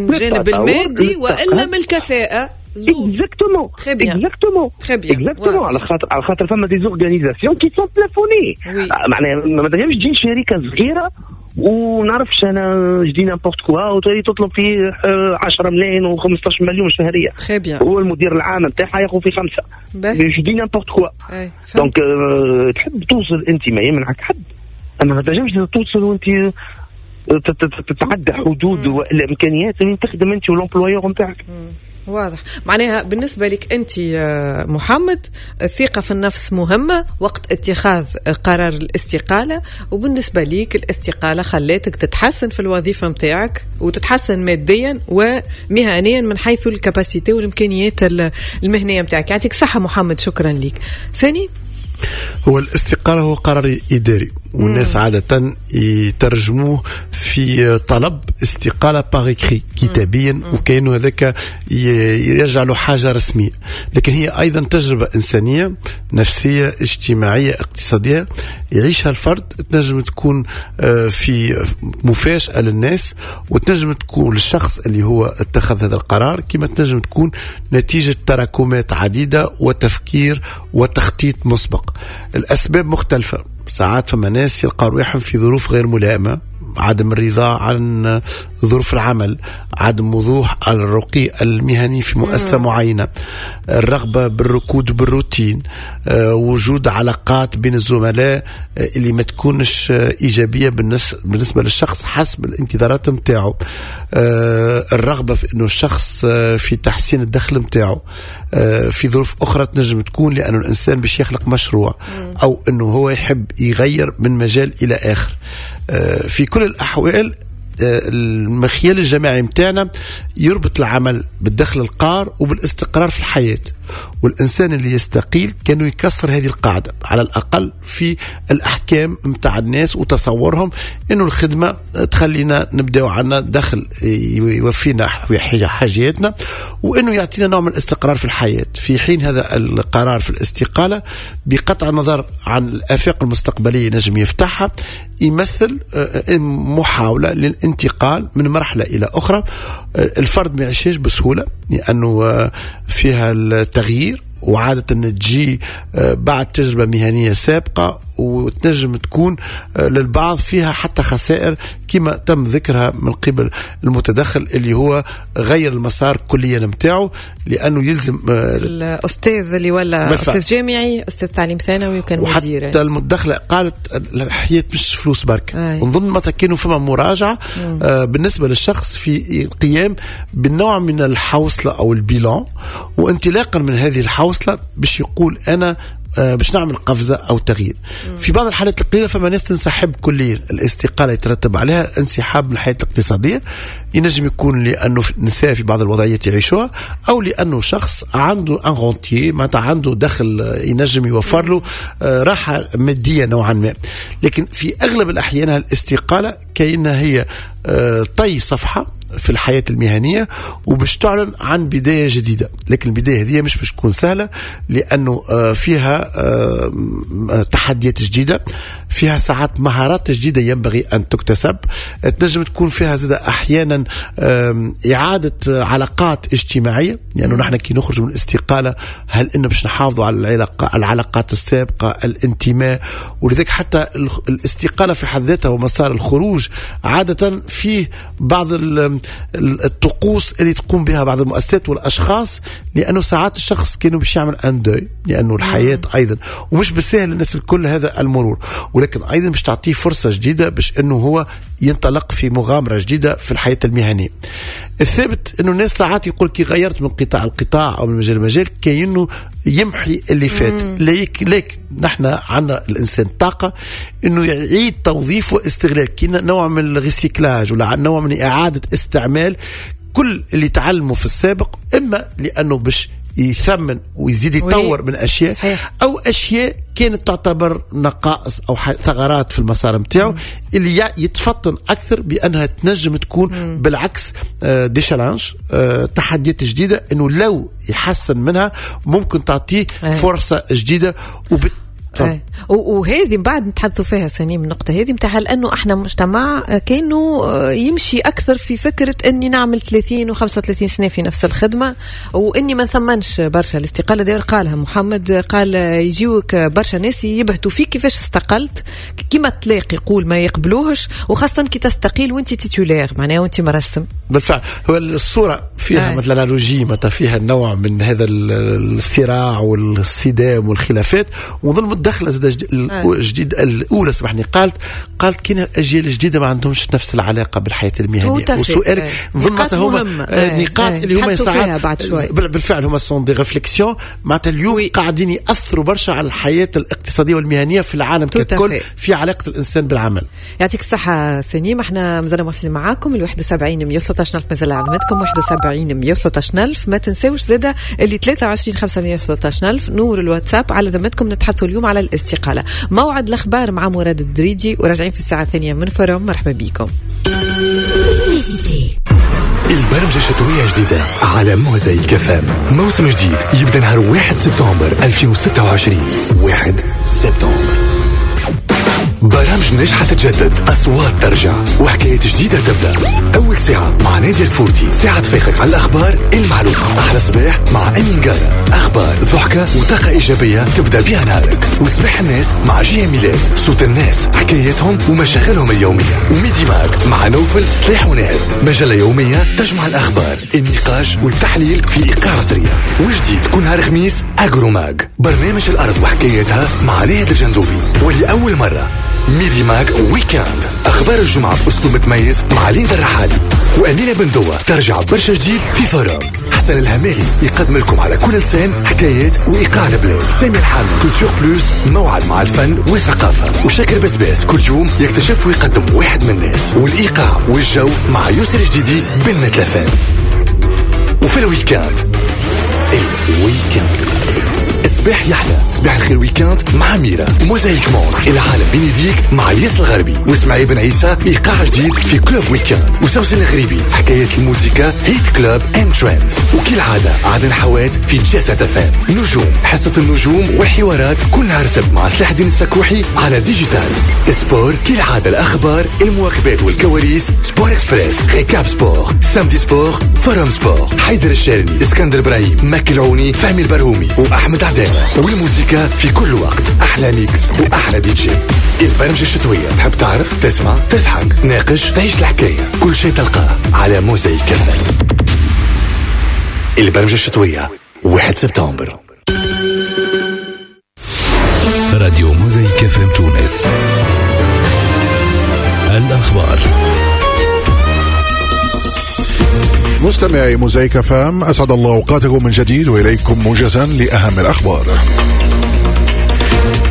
الجانب المادي والا من الكفاءه. Exactement. Exactement. Exactement. على خاطر فما des organisations qui sont plafonnées. معناها ما تنجمش تجي شركة صغيرة ونعرفش انا je dis n'importe quoi وتولي تطلب فيه 10 ملايين و15 مليون شهريه. Très bien. هو المدير العام نتاعها ياخذ في خمسه. je dis n'importe quoi. donc تحب توصل انت ما يمنعك حد، اما ما تنجمش توصل وانت تتعدى حدود والامكانيات اللي تخدم انت و l'employeur نتاعك. واضح. معناها بالنسبة لك أنت محمد، الثقة في النفس مهمة وقت اتخاذ قرار الاستقالة، وبالنسبة لك الاستقالة خلاتك تتحسن في الوظيفة متاعك وتتحسن ماديا ومهنيا من حيث ال capacité والإمكانيات المهنية متاعك. يعطيك صحة محمد، شكرا لك. ساني. هو الاستقالة هو قرار إداري، والناس عادة يترجموه في طلب استقالة par écrit، كتابيا، وكأنه هذاك يجعله حاجة رسمية، لكن هي أيضا تجربة إنسانية، نفسية، اجتماعية، اقتصادية يعيشها الفرد. تنجم تكون في مفاجأة للناس، وتنجم تكون للشخص اللي هو اتخذ هذا القرار، كما تنجم تكون نتيجة تراكمات عديدة وتفكير وتخطيط مسبق. الأسباب مختلفة. ساعات فما ناس يلقى رواحهم في ظروف غير ملائمة، عدم الرضا عن ظروف العمل، عدم وضوح الرقي المهني في مؤسسة معينة، الرغبة بالركود بالروتين، وجود علاقات بين الزملاء اللي ما تكونش إيجابية بالنسبة للشخص حسب الانتظارات متاعه، الرغبة في أنه الشخص في تحسين الدخل متاعه. في ظروف أخرى تنجم تكون لأنه الإنسان باش يخلق مشروع أو أنه هو يحب يغير من مجال إلى آخر. في كل الأحوال المخيال الجماعي متاعنا يربط العمل بالدخل القار وبالاستقرار في الحياة، والإنسان اللي يستقيل كانوا يكسر هذه القاعدة، على الأقل في الأحكام متاع الناس وتصورهم أنه الخدمة تخلينا نبداو عنا دخل يوفينا حاجياتنا وأنه يعطينا نوع من الاستقرار في الحياة، في حين هذا القرار في الاستقالة، بقطع النظر عن الآفاق المستقبلية نجم يفتحها، يمثل محاولة للانتقال من مرحلة إلى أخرى. الفرد ما يعيشش بسهولة لأنه فيها التغيير، وعادة تجي بعد تجربة مهنية سابقة، وتنجم تكون للبعض فيها حتى خسائر كما تم ذكرها من قبل المتدخل اللي هو غير المسار كليا نتاعو لأنه يلزم الأستاذ اللي ولا أستاذ جامعي، أستاذ تعليم ثانوي، وكان مدير. وحتى المدخلة قالت الحياة مش فلوس برك. ونظن معناتها كانوا فما مراجعة بالنسبة للشخص في القيام بالنوع من الحوصلة أو ال bilan، وانطلاقا من هذه الحوصلة باش يقول أنا باش نعمل قفزه او تغيير. في بعض الحالات القليلة فما ناس تنسحب كليا. الاستقالة يترتب عليها انسحاب من الحياة الاقتصاديه، ينجم يكون لانه النساء في بعض الوضعيات يعيشوها، او لانه شخص عنده un rentier، معناتها عنده دخل ينجم يوفر له راحة مادية نوعا ما. لكن في اغلب الاحيان الاستقالة كانها هي طي صفحة في الحياة المهنية وباش تعلن عن بداية جديدة، لكن البداية هذه مش باش تكون سهلة لأنه فيها تحديات جديدة، فيها ساعات مهارات جديدة ينبغي أن تكتسب، تنجم تكون فيها زاد أحيانا إعادة علاقات اجتماعية، لأنه نحن كي نخرج من الاستقالة هل إنه باش نحافظوا على العلاقات السابقة، الانتماء؟ ولذلك حتى الاستقالة في حد ذاتها ومسار الخروج عادة فيه بعض الطقوس اللي تقوم بها بعض المؤسسات والاشخاص، لانه ساعات الشخص كانوا باش يعمل un deuil، لانه الحياة ايضا ومش بالسهل للناس الكل هذا المرور، ولكن ايضا باش تعطيه فرصة جديدة باش انه هو ينطلق في مغامرة جديدة في الحياة المهنيه. الثابت انه الناس ساعات يقول كي غيرت من قطاع لقطاع او من مجال لمجال كأنه يمحي اللي فات، لكن نحن عندنا الانسان طاقة انه يعيد توظيف واستغلال، كي نوع من ال recyclage ولا نوع من اعاده استعمال كل اللي تعلمه في السابق، اما لانه باش يثمن ويزيد يطور من اشياء او اشياء كانت تعتبر نقائص او ثغرات في المسار نتاعو اللي يتفطن اكثر بانها تنجم تكون بالعكس des challenges، تحديات جديده، انه لو يحسن منها ممكن تعطيه فرصة جديدة. وهذه من بعد نتحدثوا فيها سنين من النقطة هذه نتاع لانه احنا مجتمع كانه يمشي اكثر في فكرة اني نعمل 30 و35 سنة في نفس الخدمة، واني ما نثمنش برشا الاستقالة. داير قالها محمد، قال يجيوك برشا ناس يبهتوا فيك كيفاش استقلت، كيما تلاقي يقول ما يقبلوهش، وخاصة كي تستقيل وانت titulaire معناها وانت مرسم. بالفعل هو الصورة فيها مثلا analogie معناتها فيها نوع من هذا الصراع والصدام والخلافات. ونظن متدخله زاد الجديد الاولى سامحني، قالت كاين الاجيال الجديدة ما عندهمش نفس العلاقة بالحياة المهنية. وسؤالك نظن معناتها هما نقاط اللي هما ساعات بالفعل هما sont des réflexions معناتها اليوم قاعدين ياثروا برشا على الحياة الاقتصادية والمهنية في العالم ككل في علاقة الانسان بالعمل. يعطيك الصحة سنيم، احنا مازلنا مواصلين معاكم ال 71 113 ألف مازال عظمتكم 71 113 ألف. ما تنساوش زادة اللي 23 513 ألف نور الواتساب على ذمتكم. نتحدثوا اليوم على الاستقالة. موعد الأخبار مع مراد الدريدي وراجعين في الساعة 2 من forum. مرحبا بكم. البرمجة الشتوية جديدة على موزايك FM، موسم جديد يبدأ نهار 1 سبتمبر 2026. 1 سبتمبر برامج نجحة تتجدد، أصوات ترجع، وحكايات جديدة تبدأ. أول ساعة مع نادية الفورتي، ساعة تفيقك على الأخبار المعلومة. أحلى صباح مع أمين قارة، أخبار ضحكة وطاقة إيجابية تبدأ بها نهارك. وصباح الناس مع جي ميلاد، صوت الناس، حكاياتهم ومشاغلهم اليومية. و Midi Mag مع نوفل سلاح ونهد، مجلة يومية تجمع الأخبار، النقاش والتحليل في إيقاع سريع. وجديد كل نهار خميس Agro Mag، برنامج الأرض وحكاياتها مع ناهد الجندوبي. ولأول مرة Midi Mag Weekend، أخبار الجمعة بأسلوب متميز مع ليندا الرحالي وأمينة بندوة. ترجع برشا جديد في forum. حسن الهمالي يقدم لكم على كل لسان حكايات وإيقاع البلاد. سامي الحامي Culture Plus، موعد مع الفن والثقافة. وشاكر بسباس كل يوم يكتشف ويقدم واحد من الناس. والإيقاع والجو مع يسر جديدي بالنتلفان. وفي ال week-end، ال week-end صباح يحلى، صباح الخير week-end مع ميرا. Mosaïque Monde، العالم بين يديك مع الياس الغربي واسماعيل بن عيسى، ايقاع جديد في Club Weekend. وسوسن الغريبي حكايات الموسيقى Hit Club and Trends. وكالعادة عدن حوات في Jet Set FM. نجوم، حصة النجوم والحوارات كل نهار سبت مع سلاح الدين السكوحي على Digital Sport. كالعادة الاخبار، المواكبات والكواليس، Sport Express، Récap Sport، Samedi Sport، Forum Sport، حيدر الشارني، اسكندر ابراهيم، مكي العوني، فهمي البرهومي، واحمد عدان. والموسيقى في كل وقت، أحلى mix وأحلى دي جي. البرمجة الشتوية، تحب تعرف، تسمع، تضحك، ناقش، تعيش الحكاية، كل شيء تلقاه على موزايك FM. البرمجة الشتوية 1 سبتمبر. راديو موزايك FM تونس. الأخبار. مستمعي موزايك FM، أسعد الله أوقاتكم من جديد وإليكم موجزا لأهم الأخبار.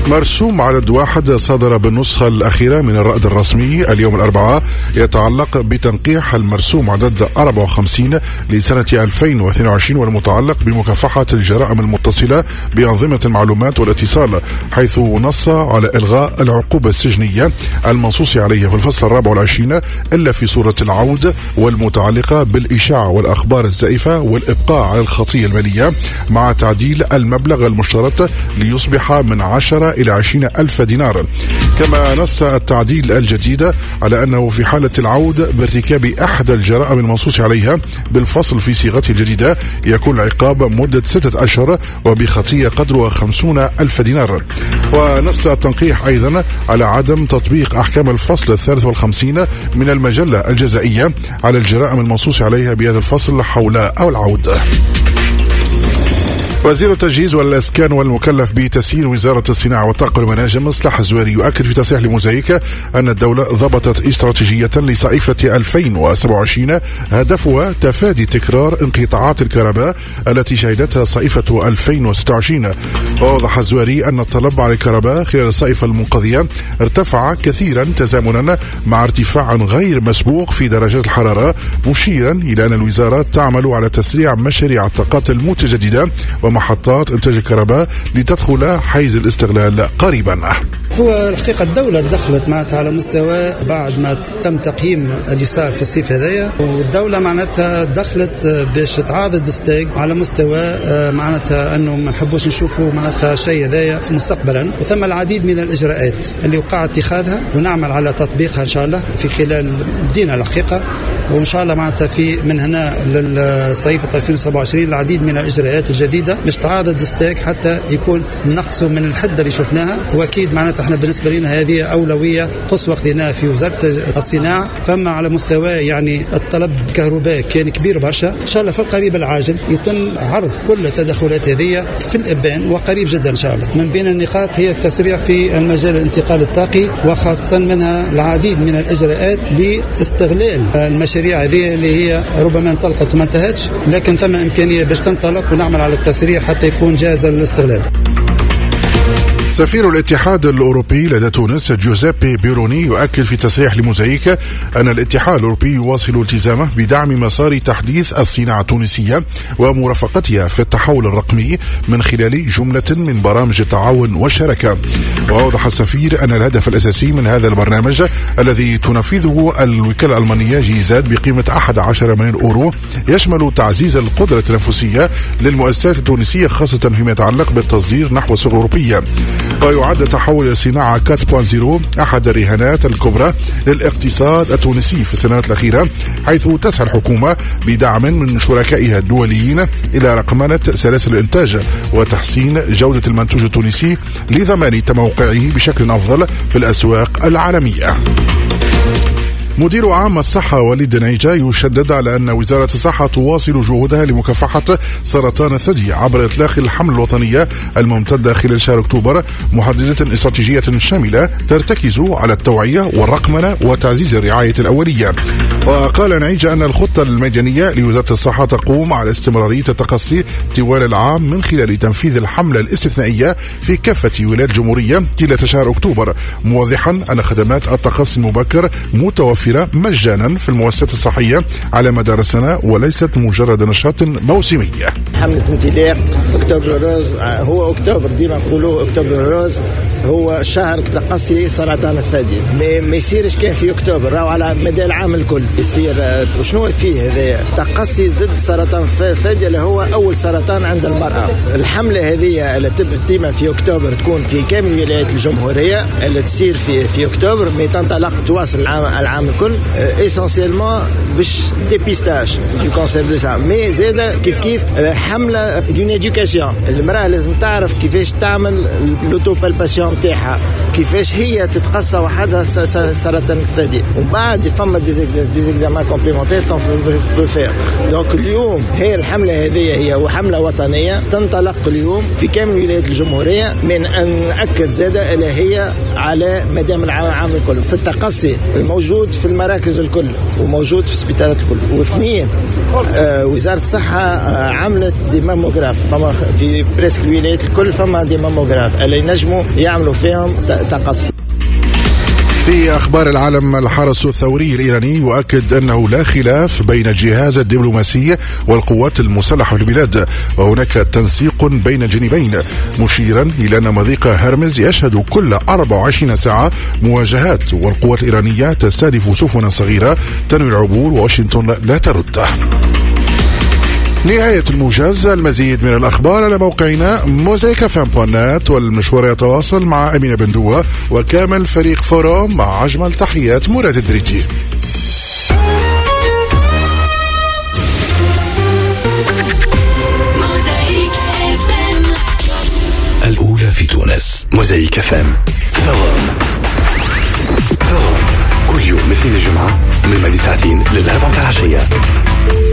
مرسوم عدد 1 صدر بالنسخة الأخيرة من الرأد الرسمي اليوم الأربعاء يتعلق بتنقيح المرسوم عدد 54 لسنة 2022 والمتعلق بمكافحة الجرائم المتصلة بأنظمة المعلومات والاتصال، حيث نص على إلغاء العقوبة السجنية المنصوص عليها في الفصل 24 إلا في صورة العود والمتعلقة بالإشاعة والأخبار الزائفة والإبقاء على الخطية المالية، مع تعديل المبلغ المشترط ليصبح من 10 إلى 20 ألف دينار. كما نص التعديل الجديد على أنه في حالة العود بارتكاب أحد الجرائم المنصوص عليها بالفصل في صيغته الجديدة يكون العقاب مدة 6 أشهر وبخطية قدرها 50 ألف دينار. ونص التنقيح أيضا على عدم تطبيق أحكام الفصل 53 من المجلة الجزائية على الجرائم المنصوص عليها بهذا الفصل حول أو العود. وزير التجهيز والإسكان والمكلف بتسيير وزارة الصناعة والطاقة والمناجم صلاح الزواري يؤكد في تصريح لموزايك أن الدولة ضبطت استراتيجية لصائفة 2027 هدفها تفادي تكرار انقطاعات الكهرباء التي شهدتها صائفة 2026. ووضح الزواري أن الطلب على الكهرباء خلال الصائفة المنقضية ارتفع كثيرا تزامنا مع ارتفاع غير مسبوق في درجات الحرارة، مشيرا إلى أن الوزارة تعمل على تسريع مشاريع الطاقات المتجددة ومحطات إنتاج الكهرباء لتدخل حيز الاستغلال قريبا. هو الحقيقة الدولة دخلت معناتها على مستوى بعد ما تم تقييم اللي صار في الصيف هذايا، والدولة معناتها دخلت باش تعاضد STEG على مستوى معناتها انه ما نحبوش نشوفوا معناتها شيء هذايا في مستقبلا، وثم العديد من الاجراءات اللي وقع اتخاذها ونعمل على تطبيقها ان شاء الله في خلال بدينا الحقيقة، وان شاء الله معناتها في من هنا للصيف 2027 العديد من الاجراءات الجديدة باش تعاضد STEG حتى يكون نقصوا من الحدة اللي شفناها. واكيد معناتها احنا بالنسبة لنا هذه اولوية قصوى خذيناها في وزارة الصناعة. فما على مستوى يعني الطلب الكهرباء كان كبير برشا، ان شاء الله في القريب العاجل يتم عرض كل التدخلات هذه في الابان وقريب جدا ان شاء الله. من بين النقاط هي التسريع في المجال الانتقال الطاقي، وخاصة منها العديد من الاجراءات لاستغلال المشاريع هذه اللي هي ربما انطلقت وما انتهتش، لكن ثم امكانية باش تنطلق ونعمل على التسريع حتى يكون جاهز للاستغلال. سفير الاتحاد الأوروبي لدى تونس جوزيبي بيروني يؤكد في تصريح لموزايك أن الاتحاد الأوروبي يواصل التزامه بدعم مسار تحديث الصناعة التونسية ومرافقتها في التحول الرقمي من خلال جملة من برامج التعاون والشراكة. وأوضح السفير أن الهدف الأساسي من هذا البرنامج الذي تنفذه الوكالة الألمانية جيزاد بقيمة 11 مليون أورو يشمل تعزيز القدرة التنافسية للمؤسسات التونسية، خاصة فيما يتعلق بالتصدير نحو السوق الأوروبية. ويعد تحول الصناعة 4.0 أحد الرهانات الكبرى للاقتصاد التونسي في السنوات الأخيرة، حيث تسعى الحكومة بدعم من شركائها الدوليين إلى رقمنة سلاسل الإنتاج وتحسين جودة المنتوج التونسي لضمان تموقعه بشكل أفضل في الأسواق العالمية. مدير عام الصحة وليد نعيجة يشدد على أن وزارة الصحة تواصل جهودها لمكافحة سرطان الثدي عبر إطلاق الحملة الوطنية الممتدة خلال شهر أكتوبر، محددة استراتيجية شاملة ترتكز على التوعية والرقمنة وتعزيز الرعاية الأولية. وقال نعيجة أن الخطة الميدانية لوزارة الصحة تقوم على استمرارية التقصي طوال العام من خلال تنفيذ الحملة الاستثنائية في كافة ولايات الجمهورية طيلة شهر أكتوبر، موضحا أن خدمات التقصي المبكر متوفرة مجانا في المؤسسات الصحية على مدار السنة وليست مجرد نشاط موسمي. حملة انطلاق Octobre rose، هو أكتوبر ديما نقولوه Octobre rose، هو شهر تقصي سرطان الثدي، ما يصيرش كان في أكتوبر، راهو على مدى العام الكل يصير. وشنو فيه هذا؟ تقصي ضد سرطان الثدي اللي هو أول سرطان عند المرأة. الحملة هذه اللي ديما في أكتوبر تكون في كامل ولايات الجمهورية، اللي تصير في أكتوبر، mais تنطلق تواصل العام الكل essentiellement باش dépistage du cancer du sein، mais زاد كيف كيف حمله d'une éducation. المراة لازم تعرف كيفاش تعمل l'autopalpation تاعها، كيفاش هي تتقصى وحدها سرطان الثدي، ومن بعد فما des examens complémentaires qu'on peut faire. donc اليوم هي الحملة هذه هي حمله وطنية تنطلق اليوم في كامل ولايات الجمهورية، من ان ناكد زاده اللي هي على مدى العام الكل في التقصي الموجود في المراكز الكل وموجود في السبيطارات الكل. واثنين، وزارة الصحة عملت des mammographes، فما في presque الولايات الكل فما des mammographes اللي ينجموا يعملوا فيهم تقصي. في أخبار العالم، الحرس الثوري الإيراني يؤكد أنه لا خلاف بين الجهاز الدبلوماسي والقوات المسلحة في البلاد، وهناك تنسيق بين الجانبين، مشيرا إلى أن مضيق هرمز يشهد كل 24 ساعة مواجهات، والقوات الإيرانية تستهدف سفنا صغيرة تنوي العبور، وواشنطن لا ترد. نهاية الموجز، المزيد من الأخبار على موقعنا mosaïquefm.net، والمشوار يتواصل مع أمينة بندوة وكامل فريق Forum، مع أجمل تحيات مراد الدريجي. الأولى في تونس، Mosaïque FM. Forum كل يوم الاثنين الجمعة من 2 ساعتين للأربعة متاع العشية.